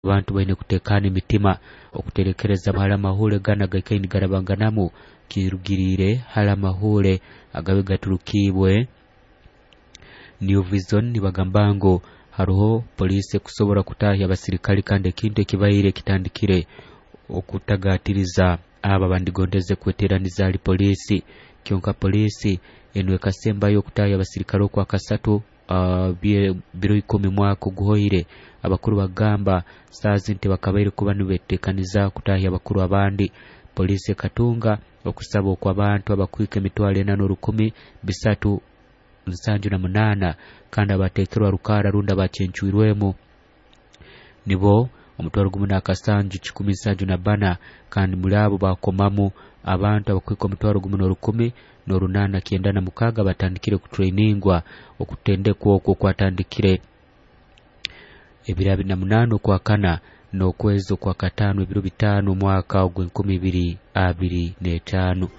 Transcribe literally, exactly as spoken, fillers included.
Abantu baine kutekana emitima okuterekereza hali amahure ganu agaikaire nigarabanganamu kirugiriire hali amahure agabe gaturukibwe New Vision. Nibagamba ngu haroho poliisi ekusobora kutahya abasirikale, kandi ekintu ekibaire kitandikire okutagatiriza abo abandigondeze kweteraniza hali poliisi. Kyonka poliisi enu ekasembayo okutahya abasirikale okwakasatu uh, biro ikumi mwaka oguhoire. Abakuru bagamba saazi nti bakabaire kuba nibetekaniza kutahya abakuru abandi. Poliisi ekatunga okusaba okw'abantu abakwika emitwaro ena n'orukumi bisatu nsanju na munaana, kandi abateekerwa rukara rundi abacencwirwemu nibo omutwaro gumu n'akasanju kikumi nsanju na bbana, kandi muri abo bakomamu abantu abakwika omutwaro gumu n'orukumi n'orunaana kyenda na mukaaga batandikire kutrainingwa. Okutendekwa okwo kwatandikire ebiro abiri na munaana okwakana n'okwezi okwakataano ebiro bitaano omwaka ogw'enkumi ibiri abiri n'etaano.